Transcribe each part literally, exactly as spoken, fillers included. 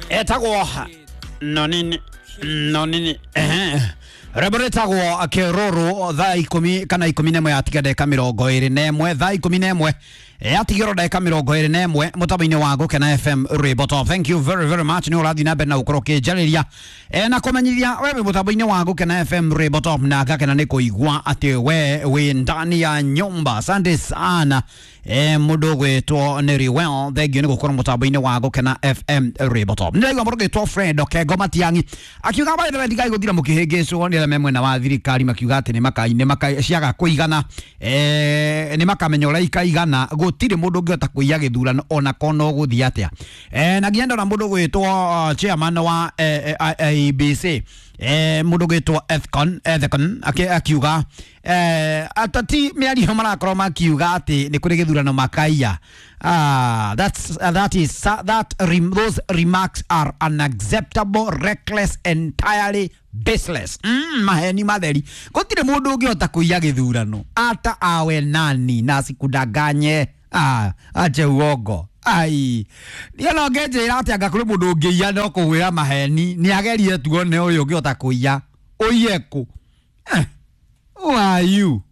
Etagwo nonini nonini ehe rwĩmbo rwĩtagwo kĩrũrũ thaa ikũmi kana ikũmi na ĩmwe yatiga ndagĩka mĩrongo ĩrĩ na ĩmwe thaa ikũmi na ĩmwe yatigĩrwo ndagĩka mĩrongo ĩrĩ na ĩmwe mũtambo-inĩ wa Gũkena F M Rwĩmbo Top. Thank you very very much nĩ ũrathiĩ na mbere na gũkorwo ũkĩnjarĩria e, na kũmenyithia we wĩ mũtambo-inĩ wa Gũkena F M Rwĩmbo Top, na ngakena nĩ kũigua atĩ we wĩ ndani ya nyumba. Asante sana e, mũndũ ũgwĩtwo nĩ Riwell, thank you nĩ gũkorwo mũtambo-inĩ wa Gũkena F M Rwĩmbo Top. Nĩraigua mũndũ ũgwĩtwo Fred Okengo Matiang'i akiuga by the way ndigai gũthira mũkĩhĩngĩcwo nĩ arĩa me mwena wa thirikari makiuga atĩ nĩ maka nĩ maka ciaga kũigana eh nĩ makamenya ũrĩa ikaigana gũtirĩ mũndũ ũngĩhota kũiya gĩthurano ona kono gũthiĩ atĩa. Eh na nginya ndona mũndũ ũgwĩtwo chairman wa eh, A B C eh mũndũ ũgwĩtwo Ethcon Ethcon akiuga eh atati mĩario marakorwo makiuga atĩ nĩ kũrĩ gĩthurano makaiya. Ah, that's uh, that is uh, that rem those remarks are unacceptable, reckless, entirely baseless. Mm, maheni matheri gũtirĩ mũndũ ũngĩhota kũiya gĩthurano ata awe nani na asikudanganye. Ah, ache uongo. Ai, niĩ no ngĩnjĩra atĩ anga kũrĩ mũndũ ũngĩiya no kũgwĩra maheni nĩ agerie tuone ũyũ ũngĩhota kũiya ũiye kũ. Eh, who are you?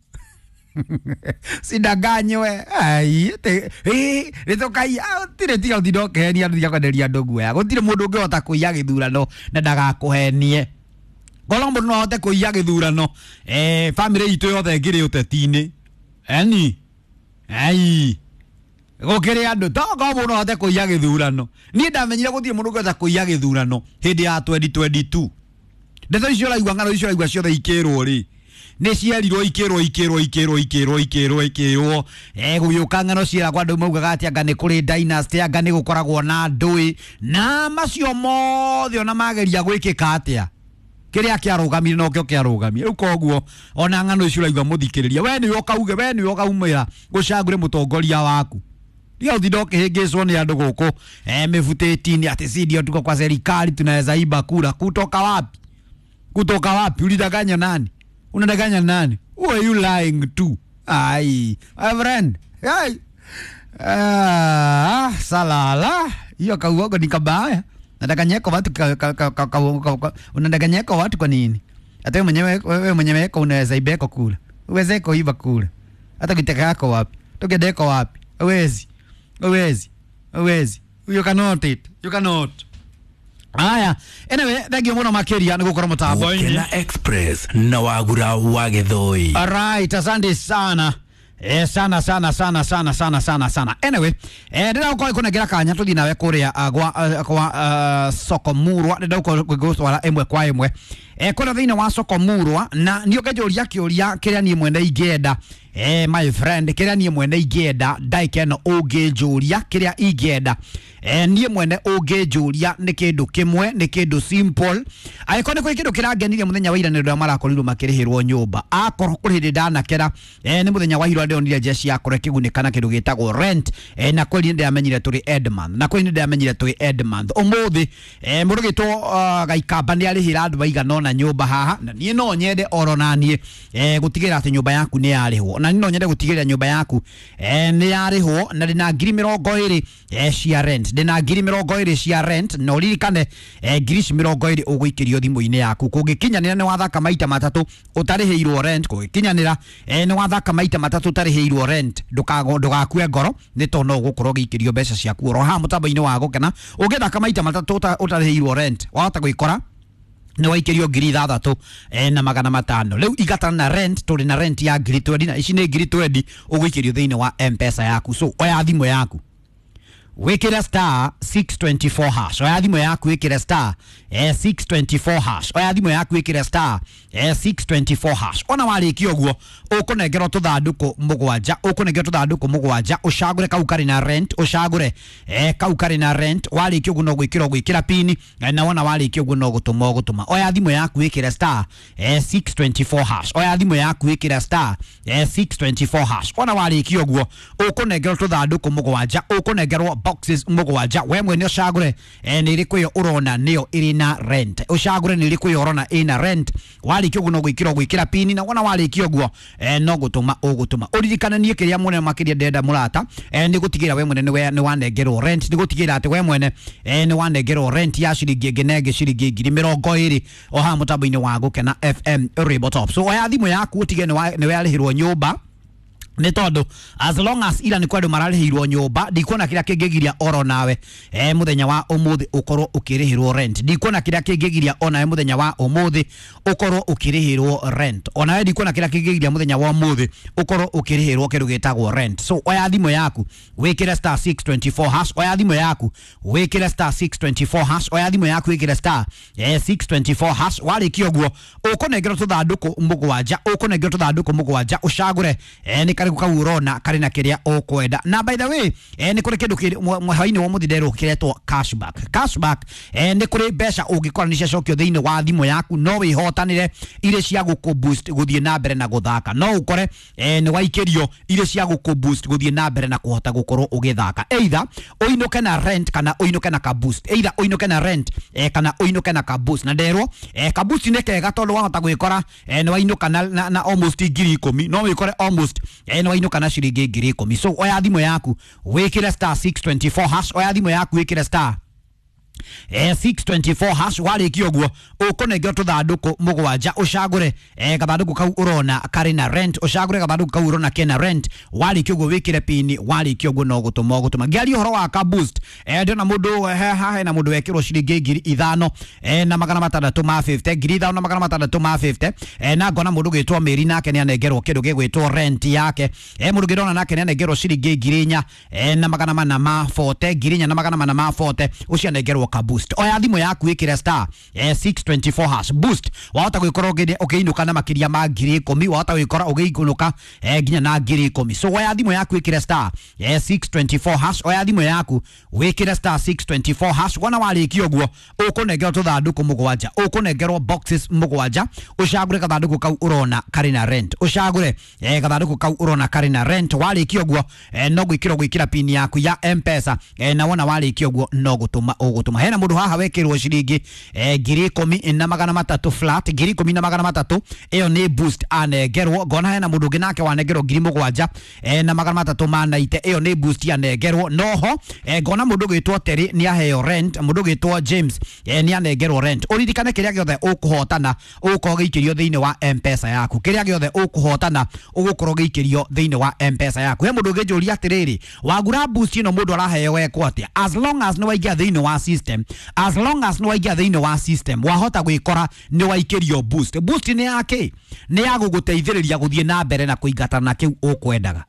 Sidanganywe. Ai, te eh rĩtũkaiya gũtirĩ tiga ũtinde ũkĩhenia andũ tiga kwenderia andũ guoya. Gũtirĩ mũndũ ũngĩhota kũiya gĩthurano na ndagakũhenie. Korwo mũndũ no ahote kũiya gĩthurano eh family itũ yothe ĩngĩrĩ ũteti-inĩ. Eni ai gũkĩrĩ andũ to korwo mũndũ no ahote kũiya gĩthurano. Niĩ ndamenyire gũtirĩ mũndũ ũngĩhota kũiya gĩthurano hĩndĩ ya twenty twenty-two. Ndeto icio ũraigua ng'ano icio ũraigua ciothe ikĩrwo rĩ nĩ cierirwo ikĩrwo ikĩrwo ikĩrwo ikĩrwo ikĩrwo ikĩrwo eh gũgĩũka ng'ano ciĩragwo andũ maugaga atĩ anga nĩ kũrĩ dynasty anga nĩ gũkoragwo na ndũĩ na macio mothe ona mageria gwĩkĩka atĩa kĩrĩa kĩarũgamire nokĩo kĩarũgamire. Rĩu koguo ona ng'ano icio ũraigua mũthikĩrĩria we nĩwe ũkauge we nĩwe ũkaumĩra gũcagũre mũtongoria waku. Ndio ũtinde ũkĩhĩngĩcwo nĩ andũ gũkũ eh mĩbutĩti-inĩ atĩ si ndio tuko kwa serikali tunaweza iba kura. Kutoka wapi? Kutoka wapi? Ulidanganya nani? Unadanganya nani? Who are you lying to? Ai, my friend. Ai. Ah, salala. Hiyo kauogo ni kabaya. Nadanganyeko watu ka, ka, ka, ka, ka, ka, unadanganyeko watu kwa nini? Hata wewe mwenyewe wewe mwenyewe kwa unaweza ibeko kula. Uweze kuiba kula. Hata kitaka yako wapi? Tokendeko wapi? Uwezi. Uwezi. Uwezi. You cannot it. You cannot. Aya, anyway, thank you muno makiria ni gukorwo mutambo-inĩ. Gũkena Express na Wagura wa Gĩthũi. Alright, asante sana. Eh, sana sana sana sana sana sana sana. Anyway, eh ndĩra gũkorwo kanya tũthiĩ nawe kũrĩa gwa kwa soko murwa ndĩra gũkorwo gũtwara ĩmwe kwa ĩmwe eh kũrĩa thĩinĩ wa soko murwa na niĩ ũngĩnjũria kĩũria kĩrĩa niĩ mwene ingĩenda eh my friend kĩrĩa niĩ mwene ingĩenda ndagĩka ĩno ũngĩnjũria kĩrĩa ingĩenda eh niĩ mwene ũngĩnjũria nĩ kĩndũ kĩmwe nĩ kĩndũ simple angĩkorwo nĩ kũrĩ kĩndũ kĩrangenirie mũthenya wa ira nĩ andũ marakorirwo makĩrĩhĩrwo nyũmba akorwo kũrĩ hĩndĩ ndanakera eh nĩ mũthenya wa ira ndĩronire jeshi yakora kĩgunĩka na kĩndũ gĩtagwo rent eh na kweli ndĩramenyire tũrĩ Edmonth na kweli ndĩramenyire tũrĩ Edmonth ũmũthĩ eh mũndũ gĩtwo uh, Gaikamba nĩ arĩhĩra andũ maigana ũna nyũmba haha na niĩ no nyende oro na niĩ eh gũtigĩrĩra atĩ nyũmba yaku nĩ yarĩhwo na niĩ no nyende gũtigĩrĩra nyũmba yaku eh nĩ yarĩhwo na ndĩna ngiri mĩrongo ĩrĩ eh cia rent ndĩna ngiri mĩrongo ĩrĩ cia rent na ũririkane eh ngiri ici mĩrongo ĩrĩ ũgũikĩrio thimũ-inĩ yaku kũngĩkinyanĩra nĩ wathaka maita matatũ ũtarĩhĩirwo rent kũngĩkinyanĩra eh nĩ wathaka maita matatũ ũtarĩhĩirwo rent ndũkago ndũgakue ngoro nĩ tondũ no ũgũkorwo ũgĩikĩrio mbeca ciaku oro haha mũtambo-inĩ wa Gũkena ũngĩthaka maita matatũ ũtarĩhĩirwo rent wahota gwĩkora nĩ waikĩrio ngiri ithathatũ eh, na magana matano rĩu igatana na rent tũrĩ na rent ya ngiri twendi na ici nĩ ngiri twendi ũgũikĩrio thĩinĩ wa M-Pesa yaku so oya thimũ yaku wikire star six twenty-four hash oya thimũ yaku wikire star eh, six twenty-four hash oya thimũ yaku wikire star eh, six twenty-four hash ona warĩkia ũguo ũkũnengerwo tũthandũkũ mũgwanja ũkũnengerwo tũthandũkũ mũgwanja ũcagũre kau karĩ na rent ũcagũre eh, kau karĩ na rent warĩkia ũguo no gwĩkĩra ũgwĩkĩra pini eh, na wona warĩkia ũguo no gũtũma ũgũtũma oya thimũ yaku wĩkĩre star eh, six twenty-four hash oya thimũ yaku wĩkĩre star eh, six twenty-four hash ona warĩkia ũguo ũkũnengerwo tũthandũkũ mũgwanja ũkũnengerwo Boxes mũgwanja, we mwene ũcagũre eh, nĩ ĩrĩkũ ĩyo ũrona nĩyo ĩrĩ na rent, ũcagũre nĩ ĩrĩkũ ĩyo ũrona ĩna rent. Warĩkia ũguo no gwĩkĩra ũgwĩkĩra pini, na wona warĩkia ũguo eh, no gũtũma ũgũtũma. Ũririkane niĩ kĩrĩa mũnene makĩria ndĩrenda mũrata eh, nĩ gũtigĩrĩra we mwene nĩ nĩ wanengerwo rent, nĩ gũtigĩrĩra atĩ we mwene eh, nĩ wanengerwo rent ya ciringi ĩngĩ na ĩngĩ ciringi ngiri mĩrongo ĩrĩ o haha mũtambo-inĩ wa Gũkena F M Rainbow Top. So oya thimũ yaku ũtige nĩ warĩhĩrwo nyũmba, nĩ tondũ as long as ira nĩ kwendwo mararĩhĩirwo nyũmba, ndikuona kĩrĩa kĩngĩgiria oro nawe eh, mũthenya wa ũmũthĩ ũkorwo ũkĩrĩhĩrwo rent. Ndikuona kĩrĩa kĩngĩgiria onawe mũthenya wa ũmũthĩ ũkorwo ũkĩrĩhĩrwo rent. Onawe ndikuona kĩrĩa kĩngĩgiria mũthenya wa ũmũthĩ ũkorwo ũkĩrĩhĩrwo kĩndũ gĩtagwo rent. So oya thimũ yaku wĩkĩre star six twenty four hash, oya thimũ yaku wĩkĩre star six twenty four hash, oya thimũ yaku wĩkĩre star eh, six twenty four hash. Warĩkia ũguo ũkũnengerwo tũthandũkũ mũgwanja, ũkũnengerwo tũthandũkũ mũgwanja, ũcagũre eh, nĩ karĩkũ kau ũrona karĩ na kĩrĩa ũkwenda. Na by the way eh, nĩ kũrĩ kĩndũ hwainĩ wa mũthĩ nderwo kĩretwo cashback. Cashback eh, nĩ kũrĩ mbeca ũngĩkora nĩ ciacokio thĩinĩ wa thimũ yaku, no wĩhotanĩre irĩ cia gũkũ boost gũthiĩ na mbere na gũthaka. No ũkore eh, nĩ waikĩrio irĩ cia gũkũ boost gũthiĩ na mbere na kũhota gũkorwo ũgĩthaka, either ũinũke na rent kana ũinũke na ka boost, either ũinũke na rent eh, kana ũinũke na ka boost. Na nderwo eh, ka boost nĩ kega tondũ wahota gwĩkora eh, nĩ wainũka na, na, na almost ngiri ikũmi, no wĩkore almost eh, nĩ wainũka na ciringi ngiri ikũmi. So oya thimũ yaku wĩkĩre star six twenty four hash, oya thimũ yaku wĩkĩre star eh, six twenty four hash. Warĩkia ũguo ũkũnengerwo tũthandũkũ mũgwanja, ũcagũre eh, gathandũkũ kau ũrona karĩ na rent, ũcagũre gathandũkũ kau ũrona kena rent. Warĩkia ũguo wĩkĩre pini, warĩkia ũguo no gũtũma ũgũtũma. Ngĩaria ũhoro wa ka boost eh, ndĩrona mũndũ haha hena mũndũ wekĩrwo ciringi ngiri ithano eh, na magana matandatũ ma fifty, ngiri ithano na magana matandatũ ma fifty eh, na ngona mũndũ gwĩtwo Mary nake nĩ anengerwo kĩndũ gĩgwĩtwo rent yake eh, mũndũ ngĩrona nake nĩ anengerwo ciringi ngiri inya eh, na magana mana ma forty, ngiri inya na magana mana ma forty, ũcio anengerwo ka boost. Oya thimũ yaku ĩkĩre star eh, six twenty four hash boost. Wahota gwĩkora ũkĩinũka na makĩria ma ngiri ikũmi, wahota gwĩkora ũgĩinũka eh, nginya na ngiri ikũmi. So oya thimũ yaku ĩkĩre star eh, six twenty four hash, oya thimũ yaku wĩkĩre star six twenty four hash. Wona warĩkia ũguo ũkũnengerwo tũthandũkũ mũgwanja, ũkũnengerwo boxes mũgwanja, ũcagũre gathandũkũ kau ũrona karĩ na rent, ũcagũre eh, gathandũkũ kau ũrona karĩ na rent. Warĩkia ũguo eh, no gwĩkĩra gwĩkĩra pin yaku ya M-Pesa eh, na wona warĩkia ũguo no gũtũma ũgũtũma. Hena mũndũ haha wekĩrwo ciringi eh, ngiri ikũmi na magana matatũ flat, ngiri ikũmi na magana matatũ, ĩyo nĩ boost anengerwo. Ngona hena mũndũ ũngĩ nake wanengerwo ngiri mũgwanja eh, na magana matatũ ma naite, ĩyo nĩ boost anengerwo. Noho eh, ngona mũndũ ũgwĩtwo Terry nĩ aheo rent, mũndũ ũgwĩtwo James eh, nĩ anengerwo rent. Ũririkane kĩrĩa gĩothe ũkũhotana ũgũkorwo gĩikĩrio thĩinĩ wa M-Pesa yaku, kĩrĩa gĩothe ũkũhotana ũgũkorwo gĩikĩrio thĩinĩ wa M-Pesa yaku. He mũndũ ũngĩnjũria atĩrĩrĩ, wagura boost ĩno mũndũ araheo ekwo atĩa? As long as nĩ waingĩra thĩinĩ wa system, as long as nĩ waingĩra thĩinĩ wa system, wahota gwĩkora nĩ waikĩrio boost. Boost nĩ yake nĩ ya gũgũteithĩrĩria gũthiĩ na mbere na kũingatana na kĩu ũkwendaga.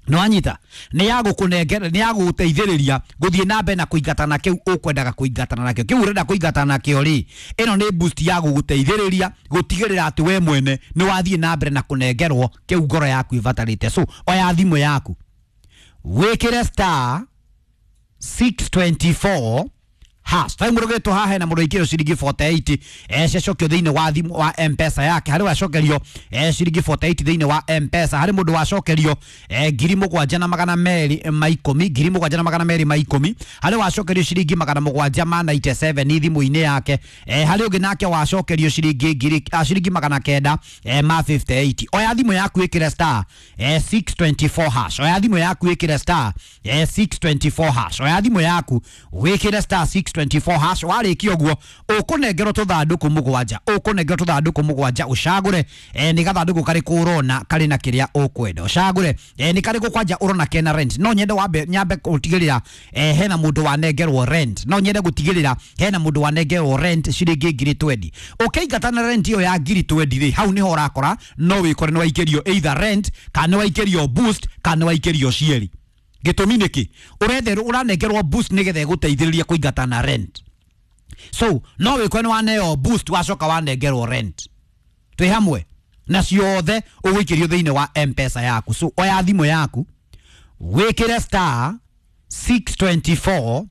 Nĩ wanyita? Nĩ ya gũkũnengera, nĩ ya gũgũteithĩrĩria gũthiĩ na mbere na kũingatana na kĩu ũkwendaga kũingatana nakĩo. Kĩu ũrenda kũingatana nakĩo rĩ, ĩno nĩ boost ya gũgũteithĩrĩria gũtigĩrĩra atĩ we mwene nĩ wathiĩ na mbere na kũnengerwo kĩu ngoro yaku ĩbatarĩte. So oya thimũ yaku wĩkĩre star six twenty four hash. Tai mũndũ ũgĩtwo haha hena mũndũ ũikĩrio ciringi forty eight eh, ciacokio thĩinĩ wa thimũ wa M-Pesa yake. Harĩ wacokerio eh, ciringi forty eight thĩinĩ wa M-Pesa. Harĩ mũndũ wacokerio eh, ngiri mũgwanja na magana merĩ ma ikũmi, ngiri mũgwanja na magana merĩ ma ikũmi. Harĩ wacokerio ciringi magana mũgwanja ma ninety seven thimũ-inĩ yake. eh, Harĩ ũngĩ nake wacokerio ciringi ngiri ah, ciringi magana kenda eh, ma fifty eight. Oya thimũ yaku ĩkĩre star eh, six twenty four hash. Oya thimũ yaku ĩkĩre star eh, six twenty four hash. Oya thimũ yaku wĩkĩre star six twenty four hash. Warĩkia ũguo ũkũnengerwo tũthandũkũ mũgwanja, ũkũnengerwo tũthandũkũ mũgwanja, ũcagũre eh, nĩ gathandũkũ karĩkũ ũrona karĩ na kĩrĩa ũkwenda, ũcagũre eh, nĩ karĩkũ kwanja ũrona kena rent. No nyende wambe nyambe gũtigĩrĩra eh, hena mũndũ wanengerwo rent, no nyende gũtigĩrĩra hena mũndũ wanengerwo rent ciringi ngiri twenty. Ũkĩingata na rent ĩyo ya ngiri twenty rĩ, hau nĩho ũrakora no wĩkore nĩ waikĩrio either rent kana nĩ waikĩrio boost kana nĩ waikĩrio cierĩ. Gĩtũmi nĩkĩ? Ũretherwo ũranengerwo boost nĩgetha ĩgũteithĩrĩrie kũingata na rent. So no wĩkore nĩ waneo boost wacoka wanengerwo rent. Twĩ hamwe na ciothe ũgũikĩrio thĩinĩ wa M-Pesa yaku. So oya thimũ yaku wĩkĩre star six twenty four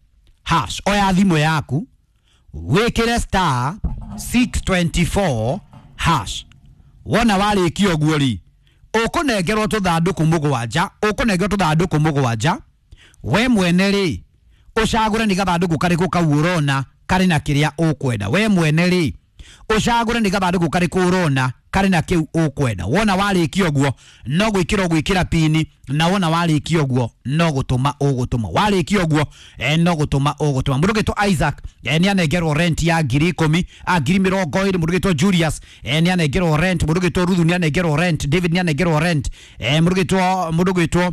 hash. Oya thimũ yaku wĩkĩre star six twenty four hash. Wona warĩkia ũguo rĩ, ũkũnengerwo tũthandũkũ mũgwanja, ũkũnengerwo tũthandũkũ mũgwanja, We mwene rĩ ũcagũre nĩ gathandũkũ karĩkũ kau ũrona karĩ na kĩrĩa ũkwenda. We mwene rĩ ũcagũre nĩ gathandũkũ karĩkũ ũrona karĩ na kĩu ũkwenda. Wona warĩkia ũguo no gwĩkĩra ũgwĩkĩra pini, na wona warĩkia ũguo no gũtũma ũgũtũma. Warĩkia ũguo eh, no gũtũma ũgũtũma. Mũndũ ũgĩtwo Isaac eh, nĩ anengerwo rent ya ngiri ikũmi, a ngiri mĩrongo ĩrĩ. Mũndũ ũgĩtwo Julius eh, nĩ anengerwo rent. Mũndũ ũgĩtwo Ruthu nĩ anengerwo rent. David nĩ anengerwo rent. eh, mũndũ ũgĩtwo mũndũ ũgĩtwo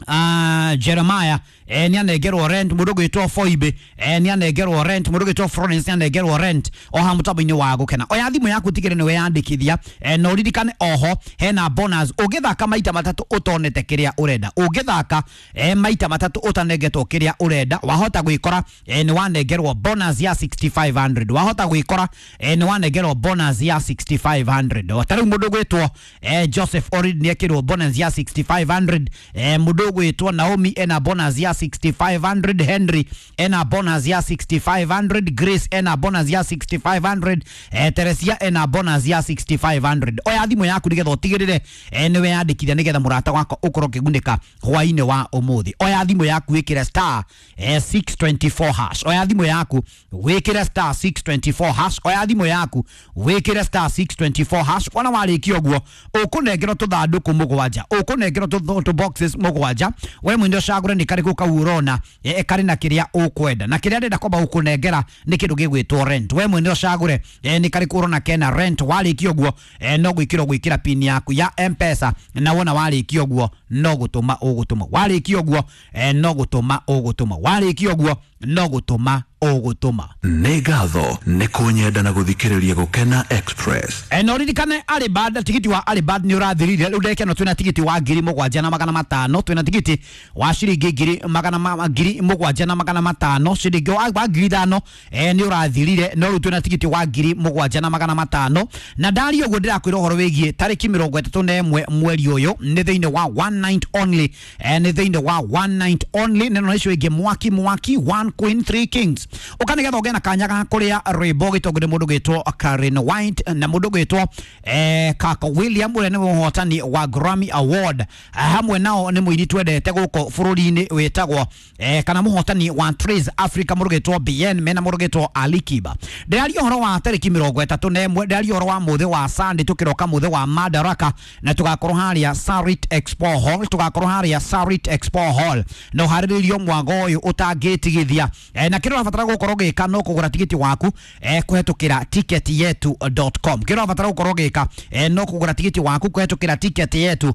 Uh, Jeremiah eh, nĩ anengerwo rent. Mũndũ ũgwĩtwo Foibe eh, nĩ anengerwo rent. Mũndũ ũgwĩtwo Florence nĩ anengerwo rent. O ha mũtambo-inĩ wa gũkena, oya thimũ yaku tigĩrĩre nĩ weyandĩkithia eh, na ũririkane oho hena bonus ũngĩthaka maita matatũ ũtonete kĩrĩa ũrenda. Ũngĩthaka eh, maita matatũ ũtanengetwo kĩrĩa ũrenda, wahota gwĩkora eh, nĩ wanengerwo bonus ya six thousand five hundred. Wahota gwĩkora eh, nĩ wanengerwo bonus ya six thousand five hundred. Ta rĩu mũndũ ũgwĩtwo eh, Joseph Orid nĩ ekĩrwo bonus ya six thousand five hundred. eh, mũndũ ũgwĩtwo Naomi ena bonus ya six thousand five hundred. Henry ena bonus ya six thousand five hundred. Grace ena bonus ya six thousand five hundred. eh, Teresia ena bonus ya six thousand five hundred. Oya thimũ yaku nĩgetha ũtigĩrĩre eh, nĩ weyandĩkithia nĩgetha mũrata wakwa ũkorwo ũkĩgunĩka hwainĩ wa ũmũthĩ. Oya thimũ yaku wĩkĩre star eh, six twenty-four hash. Oya thimũ yaku wĩkĩre star six twenty-four hash. Oya thimũ yaku wĩkĩre star six twenty-four hash. Wona warĩkia ũguo ũkũnengerwo tũthandũkũ mũgwanja, ũkũnengerwo tũ tũ boxes mũgwanja. We mwene ũcagũre nĩ karĩkũ kau ũrona eh, karĩ na kĩrĩa ũkwenda, na kĩrĩa ndĩrenda kwamba gũkũnengera nĩ kĩndũ gĩgwĩtwo rent. We mwene ũcagũre eh, nĩ karĩkũ ũrona kena rent. Warĩkia ũguo eh, no gwĩkĩra ũgwĩkĩra pin yaku ya M-Pesa, na wona warĩkia ũguo no gũtũma ũgũtũma. Warĩkia ũguo eh, no gũtũma ũgũtũma. Warĩkia ũguo no gũtũma ũgũtũma. Nĩ ngatho nĩ kũnyenda na gũthikĩrĩria Gũkena Express. E, na ũririkane Alibad, tigiti wa Alibad nĩ ũrathirire. Rĩu ndagĩka ĩno twĩna tigiti wa ngiri mũgwanja na magana matano, twĩna tigiti wa ciringi ngiri magana ma, ngiri mũgwanja na magana matano. Ciringi wa, wa ngiri ithano e, nĩ ũrathirire, no rĩu twĩna tigiti wa ngiri mũgwanja na magana matano. Na ndaria ũguo ndĩrakwĩra ũhoro wĩgiĩ tarĩki mĩrongo ĩtatũ na ĩmwe mweri ũyũ, nĩ thĩinĩ wa one night only, e, nĩ thĩinĩ wa one night only. Neno icio ingĩ mwaki mwaki, one queen three kings. Ũka nĩgetha ũgĩe na kanya ga kũrĩa rwĩmbo gĩtongo nĩ mũndũ gwĩtwo Karen White na mũndũ gwĩtwo eh, Kaka William ũrĩa nĩwe mũhotani wa Grammy Award. Eh, hamwe nao nĩ mũini twendete gũkũ bũrũri-inĩ wĩtagwo eh, kana mũhotani wa Trace Africa mũndũ gwĩtwo B N mena mũndũ gwĩtwo Ali Kiba. Ndĩraria ũhoro wa tarĩki mĩrongo ĩtatũ na ĩmwe, ndĩraria ũhoro wa mũthĩ wa Sunday, tũkĩroka mũthĩ wa Madaraka, na tũgakorwo harĩa Sarit Expo Hall, tũgakorwo harĩa Sarit Expo Hall na ũharĩrĩrio mwago ũyũ ũtangĩtigithia. eh, na kĩrĩa ũrabatara gũkorwo ũgĩka no kũgũra tigiti waku eh, kũhetũkĩra ticket yetu dot com. Kĩrĩa ũrabatara gũkorwo ũgĩka eh, no kũgũra tigiti waku kũhetũkĩra ticket yetu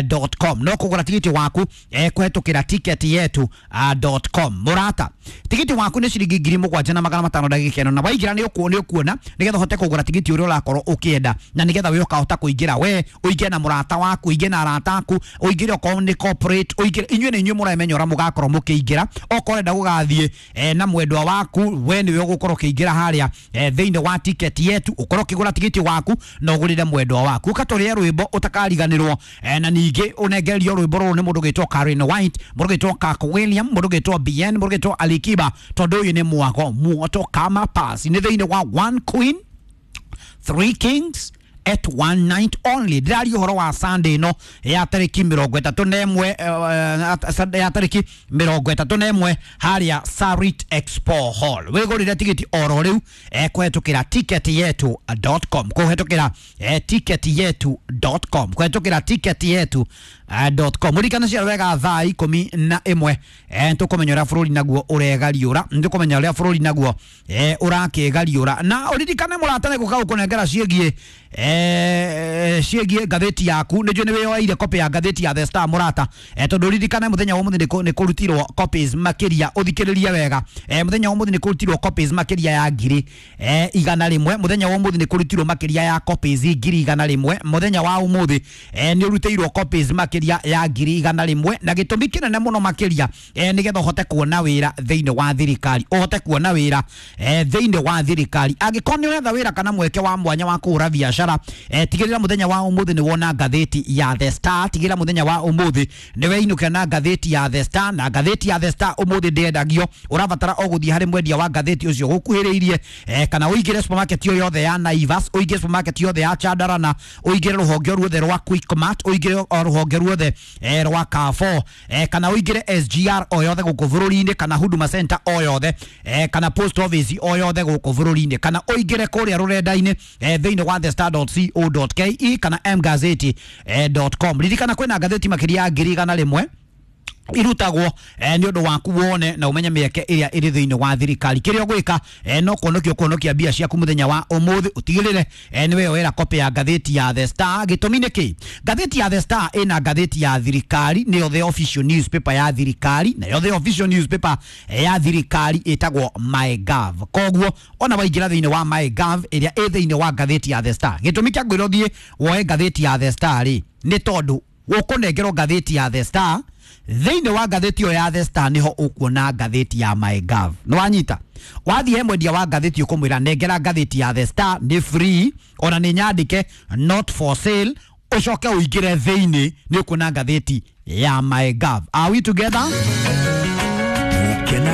dot com, no kũgũra tigiti waku eh, kũhetũkĩra ticket yetu dot com. Mũrata, tigiti waku nĩ ciringi ngiri mũgwanja na magana matano. Ndagĩka ĩno na waingĩra nĩ ũkuo nĩ ũkuona nĩgetha ũhote kũgũra tigiti ũrĩa ũrakorwo ũkĩenda, na nĩgetha we ũkahota kũingĩra, we ũingĩre na mũrata waku, ũingĩre na arata aku, ũingĩre okorwo nĩ corporate, ũingĩre inyuĩ nĩ inyuĩ mũremenya ũrĩa mũgakorwo mũkĩingĩra. Okorwo ũrenda gũgathiĩ eh, na mwendwa waku, we nĩwe ũgũkorwo ũkĩingĩra harĩa eh, thĩinĩ wa Ticket Yetu, ũkorwo ũkĩgũra tigiti waku na ũgũrĩre mwendwa waku. Ũkatũrĩe rwĩmbo ũtakariganĩrwo eh, na ningĩ ũnengererio rwĩmbo rũrũ nĩ mũndũ ũgĩtwo Karen White, mũndũ ũgĩtwo Kaka William, mũndũ ũgĩtwo B N, mũndũ ũgĩtwo Alikiba, tondũ ũyũ nĩ mwago muoto kama pasi. Nĩ thĩinĩ wa one queen three kings at one night only. Ndĩraria ũhoro wa Sunday ĩno ya tarĩki mĩrongo ĩtatũ na ĩmwe, eh, ya tarĩki mĩrongo ĩtatũ na ĩmwe harĩa Sarit Expo Hall. Wĩgũrĩre tigiti oro rĩu eh, kũhetũkĩra ticket yetu dot com, kũhetũkĩra eh, ticket yetu dot com, kũhetũkĩra ticket yetu dot com. Mũririkane cia wega thaa ikũmi na ĩmwe eh, tũkũmenya ũrĩa bũrũri naguo ũregariũra, nĩtũkũmenya ũrĩa bũrũri naguo eh, ũrakĩgariũra. Na ũririkane mũrata nĩ gũka gũkũnengera ciĩgiĩ eh, ciĩgiĩ ngathĩti yaku. Nĩ njũĩ nĩ wĩyoeire copy ya ngathĩti ya The Star, mũrata, eh, tondũ ũririkane mũthenya wa ũmũthĩ nĩ kũ- nĩ kũrutirwo copies makĩria. Ũthikĩrĩrie wega, eh, mũthenya wa ũmũthĩ nĩ kũrutirwo copies makĩria ya ngiri eh, igana rĩmwe. Mũthenya wa ũmũthĩ nĩ kũrutirwo makĩria ya copies ngiri igana rĩmwe. Mũthenya wa ũmũthĩ eh, nĩ ũrutĩirwo copies makĩria ya ngiri igana rĩmwe, na gĩtũmi kĩnene mũno makĩria eh, nĩgetha ũhote kuona wĩra thĩinĩ wa thirikari, ũhote kuona wĩra eh, thĩinĩ wa thirikari. Angĩkorwo nĩ ũretha wĩra kana mweke wa mwanya wa kũhũra biacara, eh, tigĩrĩra mũthenya wa ũmũthĩ nĩ wona ngathĩti ya The Star. Tigĩrĩra mũthenya wa ũmũthĩ nĩ weinũkĩra na ngathĩti ya The Star. Na ngathĩti ya The Star ũmũthĩ ndĩendagio, ũrabatara o gũthiĩ harĩ mwendia wa ngathĩti ũcio gũkuhĩrĩirie, eh, kana ũingĩre supermarket yo yothe ya Naivas, ũingĩre supermarket yothe ya Chandarana, ũingĩre rũhonge ruothe rwa Quickmart, ũingĩre o rũhonge ruothe. ruothe eh, rwa Carrefour, eh, kana ũingĩre S G R o yothe gũkũ bũrũri-inĩ, kana Huduma Center o yothe, eh, kana post office o yothe gũkũ bũrũri-inĩ, kana ũingĩre kũrĩa rũrenda-inĩ eh, thĩinĩ wa the star dot co dot ke kana mgazeti dot com. Ririkana kwĩna ngathĩti makĩria ya ngiri igana rĩmwe irutagwo eh, nĩ ũndũ waku wone na umenye mĩeke ĩrĩa ĩrĩ thĩinĩ wa thirikari. Kĩrĩa ũgwĩka eh, no kuonokia kuonokia mbia ciaku mũthenya wa ũmũthĩ, ũtigĩrĩre eh, nĩ weyoera copy ya ngathĩti ya The Star. Gĩtũmi nĩ kĩ? Ngathĩti ya The Star ĩna ngathĩti ya thirikari, nĩyo the official newspaper ya thirikari, nayo the official newspaper ya thirikari ĩtagwo MyGov. Koguo ona waingĩra thĩinĩ wa MyGov ĩrĩa ĩ thĩinĩ wa ngathĩti ya The Star, gĩtũmi kĩa ngwĩra ũthiĩ woe ngathĩti ya The Star rĩ, nĩ tondũ ũkũnengerwo ngathĩti ya The Star. Thĩinĩ wa ngathĩti ĩyo ya The Star nĩho ũkuona ngathĩti ya MyGov. Nĩ wanyita? Wathiĩ he mwendia wa ngathĩti ũkũmwĩra nengera ngathĩti ya The Star, nĩ free, ona nĩ nyandĩke not for sale, ũcoke ũingĩre thĩinĩ nĩ ũkuona ngathĩti ya MyGov. Are we together? Gukena